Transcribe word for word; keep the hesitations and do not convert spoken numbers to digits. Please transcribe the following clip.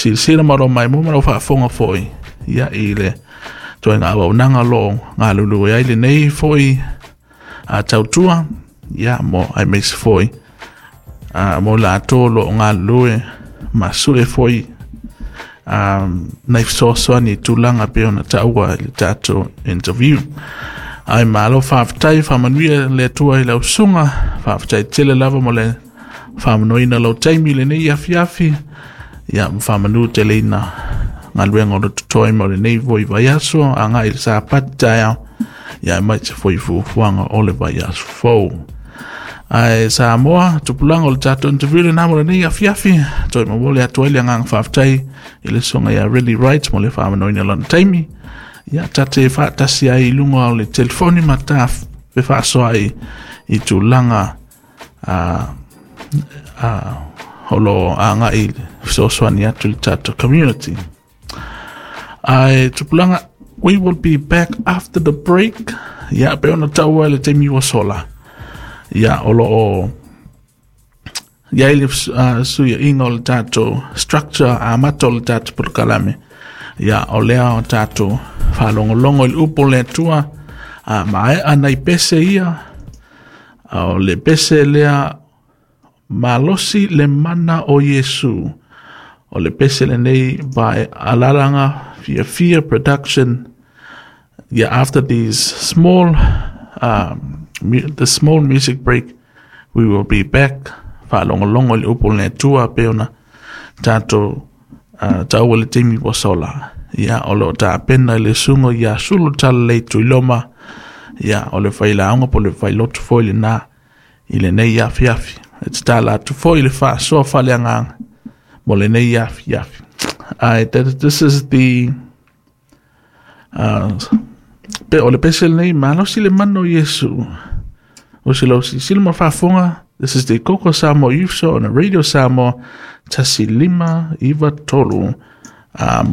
Silasila ma lou maimoa ma lau faafofoga foi ia i le ituaiga auaunaga o loo galulue ai lenei foi a tautua ia mo aemaise foi a mo latou o loo galulue ma sue foi um, nai fesoasoani i tulaga pei ona taua i le tatou interview. Ae malo faafetai, faamanuia le Atua i lau susuga, faafetai tele lava mo le faamanoina lau taimi i lenei afiafi, ia ma faamanu teleina galuega o lo totoe mo lenei foi vaiaso, agai i le Sapati taeao, ia aemaise foi fuafuaga o le vaiaso fou. Ae Samoa, tupulaga o le tatou interview lena mo lenei afiafi, toe momoli atu ai le agaga faafetai i le susuga ia Ridley Wright mo le faamanoina o lona taimi. Ia tate faatasi ai i luga o le telefoni ma ta fefaasoa ai i tulaga a a o lo agai i le fesoasoani atu i le tatou community. Ae tupulaga, we will be back after the break. Ia, pe ona taua i le taimi ua sola. Ia, o lo o iai le uh, suiaiga o le tatou structure amata o le tatou polokalame. Ia, o lea o tatou faalogologo i le upu o le Atua, a maea nai pese ia, a o le pese lea malosi le mana o Iesu. O le pese lenei by Alalaga Fiafia Production. Yeah, after these small um, mu- the small music break, we will be back. Faalogologo i le upu o le Atua pe ona tatou uh, taua le taimi ua sola. Ia, o lo o tapena i le susuga ia Sulu Talalelei Tuiloma. Ia, o le failauga po o le failotu foi lena i lenei afiafi. E tatala atu foi le faasoa faaleagaga mo lenei afiafi. Ae, that, this is the uh, pe o le pese lenei malosi le mana o Iesu. O se lau silasila ma faafofoga. This is the Koko Samoa Youth Show on Radio Samoa tasi lima iva tolu. Uh,